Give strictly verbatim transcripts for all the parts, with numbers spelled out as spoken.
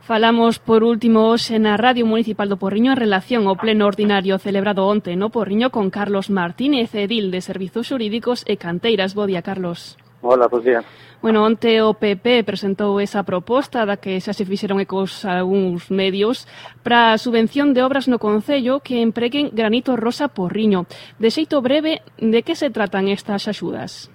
Falamos por último hoxe na Radio Municipal do Porriño en relación ao pleno ordinario celebrado onte no Porriño con Carlos Martínez, edil de Servizos Xurídicos e Canteiras. Bo día, Carlos. Hola, bos días. Bueno, onte o P P presentou esa proposta da que xa se fixeron ecos algúns medios para a subvención de obras no Concello que empreguen granito rosa Porriño. De xeito breve, de que se tratan estas axudas?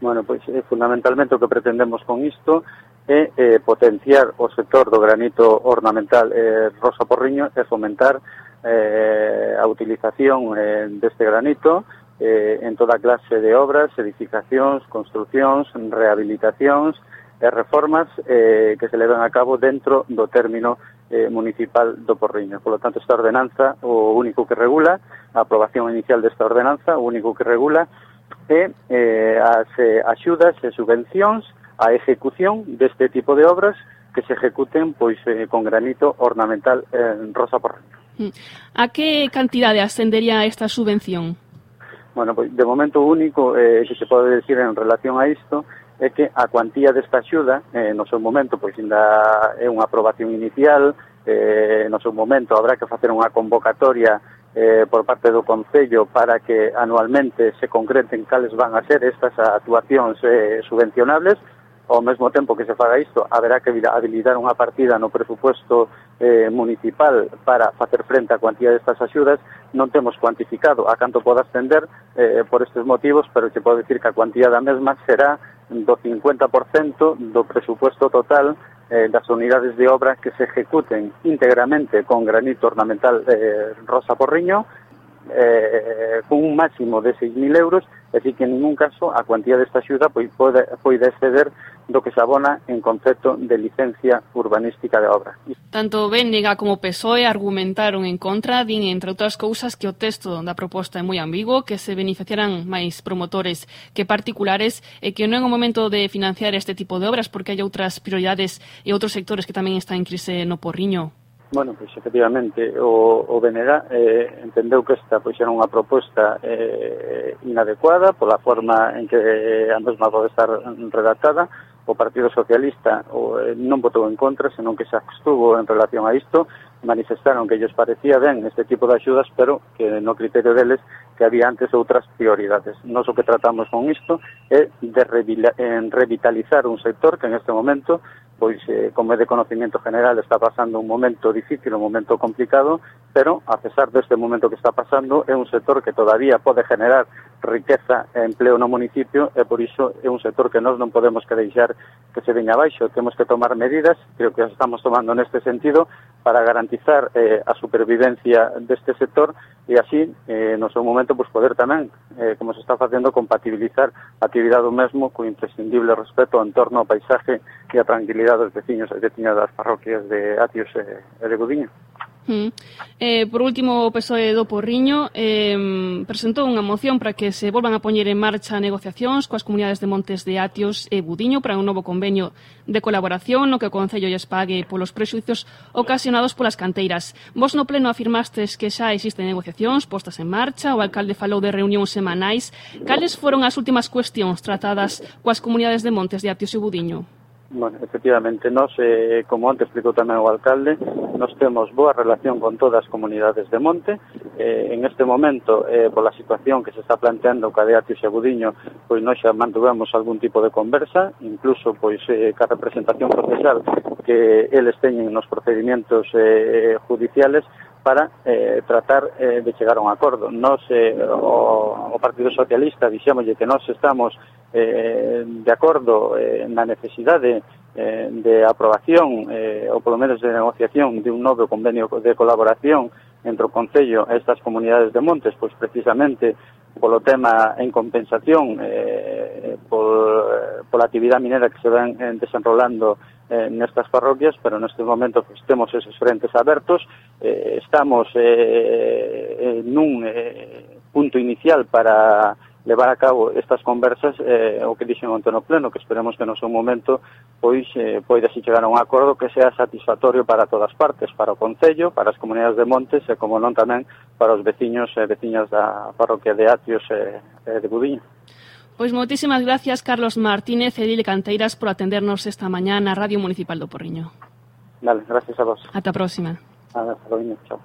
Bueno, pois eh, fundamentalmente o que pretendemos con isto é eh, potenciar o sector do granito ornamental eh, rosa Porriño e fomentar eh, a utilización eh, deste granito eh, en toda clase de obras, edificacións, construcións, rehabilitacións e reformas eh, que se levan a cabo dentro do término eh, municipal do Porriño. Por lo tanto, esta ordenanza, o único que regula, a aprobación inicial desta ordenanza, o único que regula é eh, as eh, axudas e subvencións a ejecución deste tipo de obras que se ejecuten pois eh, con granito ornamental en rosa Porriño. A que cantidade ascendería esta subvención? Bueno, pois de momento único eh, que se pode decir en relación a isto é que a cuantía desta axuda, eh, no seu momento, pois ainda é unha aprobación inicial, eh, no seu momento habrá que facer unha convocatoria eh, por parte do Concello para que anualmente se concreten cales van a ser estas actuacións eh, subvencionables. Ao mesmo tempo que se faga isto, haberá que habilitar unha partida no presupuesto eh, municipal para facer frente á cuantía destas axudas. Non temos cuantificado a canto poda ascender eh, por estes motivos, pero se pode dicir que a cuantía da mesma será do cincuenta por cento do presupuesto total eh, das unidades de obra que se ejecuten íntegramente con granito ornamental eh, rosa Porriño, eh, con un máximo de seis mil euros, é dicir que en ningún caso a cuantía desta axuda pois, pode, pode exceder do que se abona en concepto de licencia urbanística de obra. Tanto Bénega como P S O E argumentaron en contra, din, entre outras cousas, que o texto da proposta é moi ambiguo, que se beneficiarán máis promotores que particulares e que non é o momento de financiar este tipo de obras porque hai outras prioridades e outros sectores que tamén están en crise no Porriño. Bueno, pois efectivamente o, o B N G eh, entendeu que esta pois era unha proposta eh, inadecuada pola forma en que eh, a mesma pode estar redactada. O Partido Socialista o, eh, non votou en contra, senón que se abstuvo en relación a isto. Manifestaron que ellos parecía ben este tipo de axudas, pero que no criterio deles que había antes outras prioridades. Nos o que tratamos con isto é de revitalizar un sector que en este momento, pois, eh, como é de conocimiento general, está pasando un momento difícil, un momento complicado, pero, a pesar deste momento que está pasando, é un sector que todavía pode generar riqueza e empleo no municipio, e por iso é un sector que nós non podemos que deixar que se veña abaixo. Temos que tomar medidas, creo que as estamos tomando neste sentido, para garantizar eh, a supervivencia deste sector e así, eh, no seu momento, pues, poder tamén, eh, como se está facendo, compatibilizar a actividade do mesmo co imprescindible respeto ao entorno, ao paisaje e a tranquilidade dos veciños e veciñas das parroquias de Atios e, e de Gudiño. Mm. Eh, por último, o P S O E do Porriño eh, presentou unha moción para que se volvan a poñer en marcha negociacións coas comunidades de Montes de Atios e Budiño para un novo convenio de colaboración no que o Concello lles pague polos prexuicios ocasionados polas canteiras. Vos no pleno afirmastes que xa existen negociacións postas en marcha, o alcalde falou de reunións semanais. Cales foron as últimas cuestións tratadas coas comunidades de Montes de Atios e Budiño? Bueno, efectivamente, nós, eh, como antes explicou tamén o alcalde, nós temos boa relación con todas as comunidades de monte. Eh, en este momento, eh, pola situación que se está planteando ca de Atios e Budiño, pois nós xa mantuvemos algún tipo de conversa, incluso pois eh, ca representación procesal que eles teñen nos procedimentos eh, judiciales, para eh, tratar eh, de chegar a un acordo. Nós, eh, o, o Partido Socialista, dixémoslle que nós estamos eh, de acordo eh, na necesidade eh, de aprobación, eh, ou polo menos de negociación de un novo convenio de colaboración entre o Concello e estas comunidades de montes, pois precisamente polo tema en compensación eh, por, pola actividade minera que se ven eh, desenrolando eh, nestas parroquias, pero neste momento pues, temos esos frentes abertos, eh, estamos eh, en un eh, punto inicial para levar a cabo estas conversas, eh, o que dixen onte no pleno, que esperemos que no seu momento pois eh, poida se chegar a un acordo que sea satisfactorio para todas partes, para o Concello, para as comunidades de montes e, como non, tamén para os veciños e veciñas da parroquia de Atios e, e de Budiño. Pois moitísimas gracias, Carlos Martínez, edil de Canteiras, por atendernos esta mañá na Radio Municipal do Porriño. Vale, gracias a vos. Ata a próxima. Hasta luego, chao.